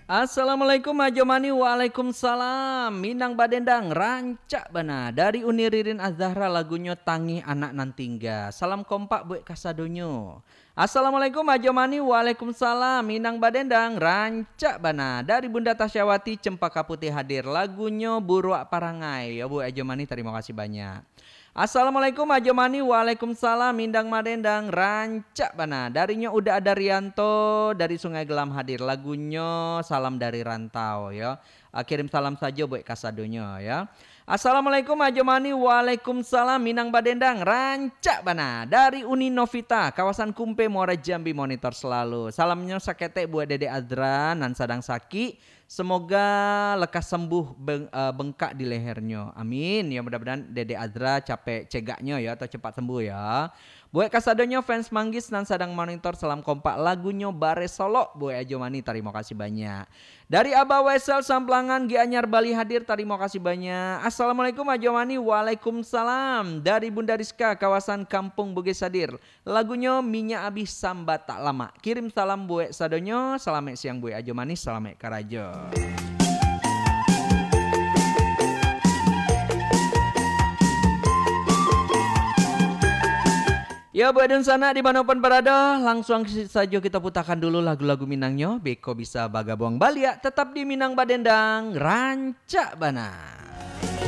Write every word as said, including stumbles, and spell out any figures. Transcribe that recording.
Assalamualaikum Ajo Mani. Waalaikumsalam. Minang badendang, rancak bana. Dari Uni Ririn Azahra, lagunyo Tangih Anak Nan Tingga. Salam kompak buek kasadonyo. Assalamualaikum Ajo Mani. Waalaikumsalam. Minang badendang, rancak bana. Dari Bunda Tasyawati, Cempaka Putih hadir, lagunyo Buruak Parangai. Yo buek Ajo Mani, tarimo kasih banyak. Assalamualaikum Ajo Mani. Waalaikumsalam. Indang madendang, rancak bana. Darinyo Uda Adarianto dari Sungai Gelam hadir, lagunyo Salam dari Rantau yo. Ah, kirim salam sajo buek kasadonyo yo. Assalamualaikum Ajo Mani. Waalaikumsalam. Minang badendang, rancak bana. Dari Uni Novita, kawasan Kumpe, Muara Jambi, monitor selalu. Salamnyo saketek buek Dedek Azra nan sadang sakik. Semoga lekas sembuh beng-, eh, bengkak di lehernyo. Amin. Ya, mudah-mudahan Dedek Azra capek cegaknyo ya, atau cepat sembuh ya. Buek kasadonyo fans Manggis nan sadang monitor, salam kompak, lagunyo Bare Solok buek Ajo Mani, tarimo kasih banyak. Dari Abah Wesel Samplangan, Gianyar Bali hadir, tarimo kasih banyak. Assalamualaikum Ajo Mani. Waalaikumsalam. Dari Bunda Rizka, kawasan Kampung Bugis hadir. Lagunyo Minyak Abih Samba Tak Lamak. Kirim salam buek sadonyo, salamaik siang buek Ajo Mani, salamaik karajo. Yo, buek dunsanak di mano pun barado, langsuang si-, sajo kito putakan dulu lagu-lagu Minangnyo, beko bisa bagabuang baliak, tetap di Minang Badendang, rancak bana.